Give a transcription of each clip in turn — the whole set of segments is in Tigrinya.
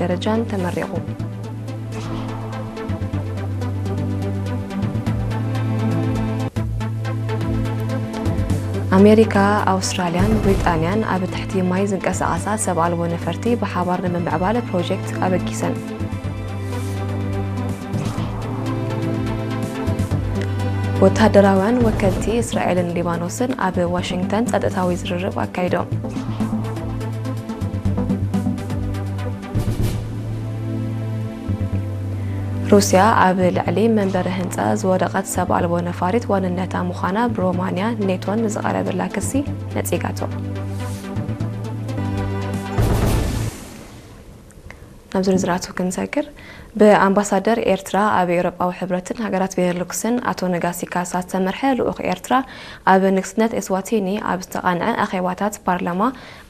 ደረጃን ተመሪቑ። ኣሜሪካ፣ ኣውስትራልያን ብሪጣንያን ኣብ ትሕቲ ማይ ዝንቀሳቐሳ ሰብ ኣልቦ ነፈርቲ ብሓባር ንምምዕባል ፕሮጀክት ኣበጊሰን። ወታደራውያን ወከልቲ እስራኤልን ሊባኖስን ኣብ ዋሽንግተን ጸጥታዊ ዝርርብ ኣካይዶም። ሩስያ ኣብ ልዕሊ መንበሪ ህንጻ ዝወደቐት ሰብ ኣልቦ ነፋሪት ዋንነታ ምዃና ብሮማንያ ኔቶን ንዝቐረበላ ክሲ ነጺጋቶ። ናብ ዝርዝራቱ ክንሰግር፣ ብኣምባሳደር ኤርትራ ኣብ ኤውሮጳዊ ሕብረትን ሃገራት ቤኔሉክስን ኣቶ ነጋሲ ካሳ ዝተመርሐ ልኡኽ ኤርትራ ኣብ ንግስነት ኤስዋቲኒ ኣብ ዝተቓንዐ ኣኼባታት ፓርላማ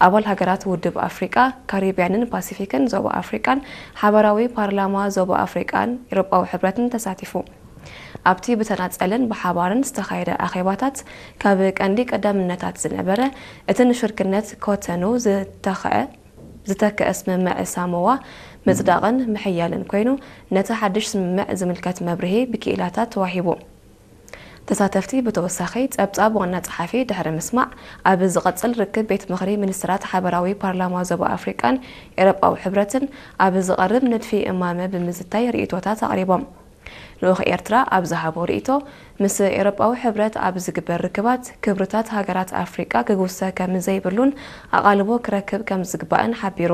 ኣባል ሃገራት ውድብ ኣፍሪቃ፣ ካሪብያንን ፓሲፊክን ዞባ ኣፍሪቃን ሓባራዊ ፓርላማ ዞባ ኣፍሪቃን ኤውሮጳዊ ሕብረትን ተሳቲፉ። ኣብቲ ብተናጸልን ብሓባርን ዝተኻየደ ኣኼባታት ካብ ቀንዲ ቀዳምነታት ዝነበረ እቲ ንሽርክነት ኮተኑ ዝተኸአ ዝተክአ ስምምዕ ሳሞዋ ምጽዳቕን ምሕያልን ኮይኑ፣ ነቲ ሓድሽ ስምምዕ ዝምልከት መብርሂ ብክኢላታት ተዋሂቡ። ተሳተፍቲ ብተወሳኺ ጸብጻብ ዋና ጸሓፊ ድሕሪ ምስማዕ፣ ኣብ ዝቐጽል ርክብ ቤት ምኽሪ ሚኒስትራት ሓበራዊ ፓርላማ ዞባ ኣፍሪቃን ኤውሮጳዊ ሕብረትን ኣብ ዝቐርብ ንድፊ እማመ ብምዝታይ ርእይቶታት ኣቕሪቦም። ልኡኽ ኤርትራ ኣብ ዝሃቦ ርእይቶ፣ ምስ ኤውሮጳዊ ሕብረት ኣብ ዝግበር ርክባት ክብርታት ሃገራት ኣፍሪቃ ክግውሰ ከም ዘይብሉን ኣቓልቦ ክረክብ ከም ዝግባእን ሓቢሩ።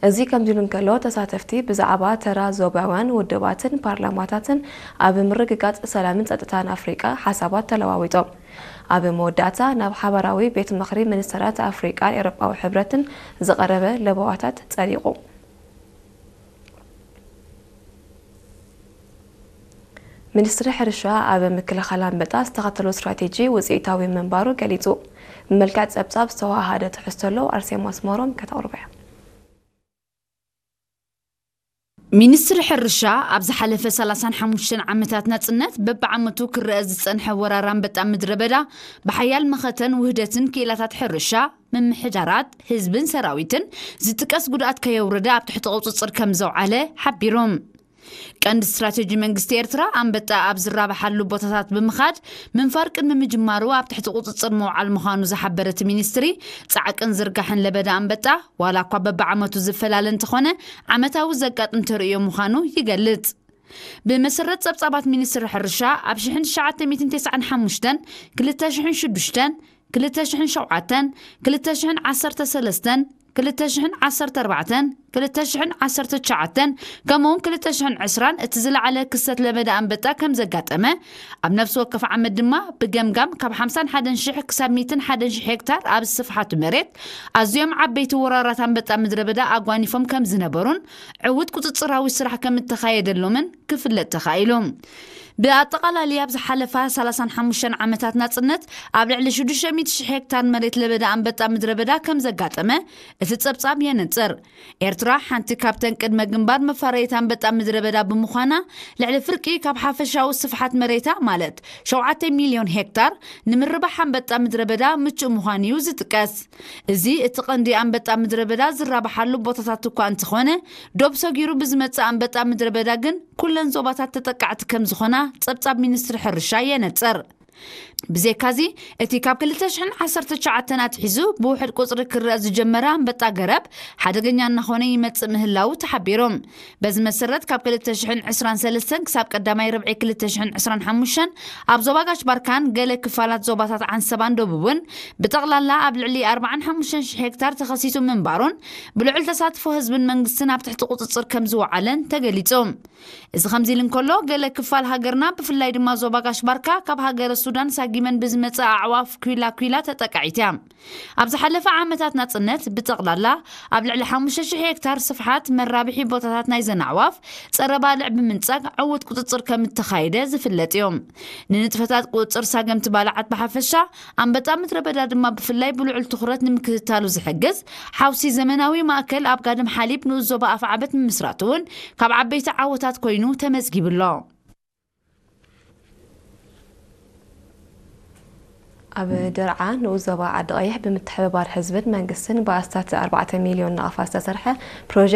እዚ ከምዚ ኢሉ እንከሎ፣ ተሳተፍቲ ብዛዕባ ተራ ዞባውያን ውድባትን ፓርላማታትን ኣብ ምርግጋጽ ሰላምን ጸጥታን ኣፍሪቃ ሓሳባት ተለዋዊጦም። ኣብ መወዳእታ፣ ናብ ሓባራዊ ቤት ምኽሪ ሚኒስተራት ኣፍሪቃን ኤውሮጳዊ ሕብረትን ዝቐረበ ለበዋታት ጸዲቑ። ሚኒስትሪ ሕርሻ ኣብ ምክልኻል ኣንበጣ ዝተኸተሎ ስትራቴጂ ውፅኢታዊ ምንባሩ ገሊጹ። ብመልክዕ ጸብጻብ ዝተዋሃደ ትሕዝቶ ኣሎ፣ ኣርሴማ ኣስመሮም ከተቕርቦ እያ። ሚኒስትሪ ሕርሻ ኣብ ዝሓለፈ ሰላሳን ሓሙሽተን ዓመታት ናጽነት በብዓመቱ ክረአ ዝጸንሐ ወራር ኣንበጣ ምድረ በዳ ብሓያል መኸተን ውህደትን ክኢላታት ሕርሻ፣ ምምሕዳራት፣ ህዝብን ሰራዊትን ዝጥቀስ ጉድኣት ከየውረደ ኣብ ትሕቲ ቁጽጽር ከም ዘውዓለ ሓቢሩ። ቀንዲ ስትራቴጂ መንግስቲ ኤርትራ ኣንበጣ ኣብ ዝራብሓሉ ቦታታት ብምኻድ ምንፋር ቅድሚ ምጅማሩ ኣብ ትሕቲ ቁጽጽር ምውዓል ምዃኑ ዝሓበረ እቲ ሚኒስትሪ፣ ጻዕቅን ዝርጋሕን ለበዳ ኣንበጣ ዋላ እኳ በብዓመቱ ዝፈላለ እንተኾነ ዓመታዊ ዘጋጥም ተርእዮ ምዃኑ ይገልጽ። ብመሰረት ጸብጻባት ሚኒስትሪ ሕርሻ ኣብ ሽሕን ትሽዓተ ሚእትን ተስዓን ሓሙሽተን፣ ክልተ ሽሕን ሽዱሽተን፣ ክልተ ሽሕን ሸውዓተን፣ ክልተ ሽሕን ዓሰርተ ሰለስተን፣ ክልተ ሽሕን ዓሰርተ ኣርባዕተን፣ ክልተ ሽሕን ዓሰርተ ትሽዓተን ከምኡውን ክልተ ሽሕን ዕስራን እቲ ዝለዓለ ክስተት ለበዳ ኣንበጣ ከም ዘጋጠመ፣ ኣብ ነፍሲ ወከፍ ዓመት ድማ ብገምጋም ካብ ሓምሳን ሓደን ሽሕ ክሳብ ሚእትን ሓደን ሽሕ ሄክታር ኣብ ስፍሓቱ መሬት ኣዝዮም ዓበይቲ ወራራት ኣንበጣ ምድረ በዳ ኣጓኒፎም ከም ዝነበሩን ዕዉት ቁጽጽራዊ ስራሕ ከም እተኻየደሎምን ክፍለጥ ተኻኢሉ። ብኣጠቓላሊ ኣብ ዝሓለፋ ሰላሳን ሓሙሽተን ዓመታት ናጽነት ኣብ ልዕሊ ሽዱሽተ ሚእቲ ሽሕ ሄክታር መሬት ለበዳ ኣንበጣ ምድረ በዳ ከም ዘጋጠመ እቲ ጸብጻብ የነጽር። ኤርትራ ሓንቲ ካብተን ቅድመ ግንባር መፋረይታ ኣንበጣ ምድረ በዳ ብምዃና ልዕሊ ፍርቂ ካብ ሓፈሻዊ ስፍሓት መሬታ ማለት ሸውዓተ ሚልዮን ሄክታር ንምርባሕ ኣንበጣ ምድረ በዳ ምቹእ ምዃኑ እዩ ዝጥቀስ። እዚ እቲ ቀንዲ ኣንበጣ ምድረ በዳ ዝራብሓሉ ቦታታት እኳ እንተኾነ ዶብ ሰጊሩ ብዝመጽእ ኣንበጣ ምድረ በዳ ግን ኩለን ዞባታት ተጠቃዕቲ ከም ዝኾና ጸብጻብ ሚኒስትሪ ሕርሻ የነጽር። ብዘይካዚ እቲ ካብ ክልተ ሽሕን ዓሰርተ ትሽዓተን ኣትሒዙ ብውሕድ ቁጽሪ ክረአ ዝጀመረ ኣንበጣ ገረብ ሓደገኛ እናኾነ ይመጽእ ምህላዉ ተሓቢሩ። በዚ መሰረት ካብ ክልተ ሽሕን ዕስራን ሰለስተን ክሳብ ቀዳማይ ርብዒ ክልተ ሽሕን ዕስራን ሓሙሽተን ኣብ ዞባ ጋሽ ባርካን ገለ ክፋላት ዞባታት ዓንሰባን ደቡብን ብጠቕላላ ኣብ ልዕሊ ኣርባዓን ሓሙሽተን ሽሕ ሄክታር ተኸሲቱ ምንባሩን ብልዑል ተሳትፎ ህዝብን መንግስትን ኣብ ትሕቲ ቁጽጽር ከም ዝወዓለን ተገሊጹ። እዚ ከምዚ ኢሉ እንከሎ፣ ገለ ክፋል ሃገርና ብፍላይ ድማ ዞባ ጋሽ ባርካ ካብ ሃገረ ሱዳን ሳጊመን ብዝመጸ ኣዕዋፍ ኲላ ኲላ ተጠቃዒት እያ። ኣብ ዝሓለፈ ዓመታት ናጽነት ብጠቕላላ ኣብ ልዕሊ ሓሙሽተ ሽሕ ሄክታር ስፍሓት መራብሒ ቦታታት ናይዘን ኣዕዋፍ ጸረ ባልዕ ብምንጻግ ዕዉት ቁጽጽር ከም እተኻየደ ዝፍለጥ እዩ። ንንጥፈታት ቁጽጽር ሳገምቲ ባልዓት ብሓፈሻ ኣንበጣ ምድረ በዳ ድማ ብፍላይ ብልዑል ትኹረት ንምክትታሉ ዝሕግዝ ሓውሲ ዘመናዊ ማእከል ኣብ ጋድም ሓሊብ ንኡስ ዞባ ኣፍዓበት ምምስራቱ እውን ካብ ዓበይቲ ዓወታት ኮይኑ ተመዝጊቡ ኣሎ። ኣብ ደርዓ ንኡስ ዞባ ዓዲ ቀይሕ ብምትሕብባር ህዝብን መንግስትን ብኣስታት ኣርባዕተ ሚልዮን ናቕፋ ዝተሰርሐ ፕሮጀክት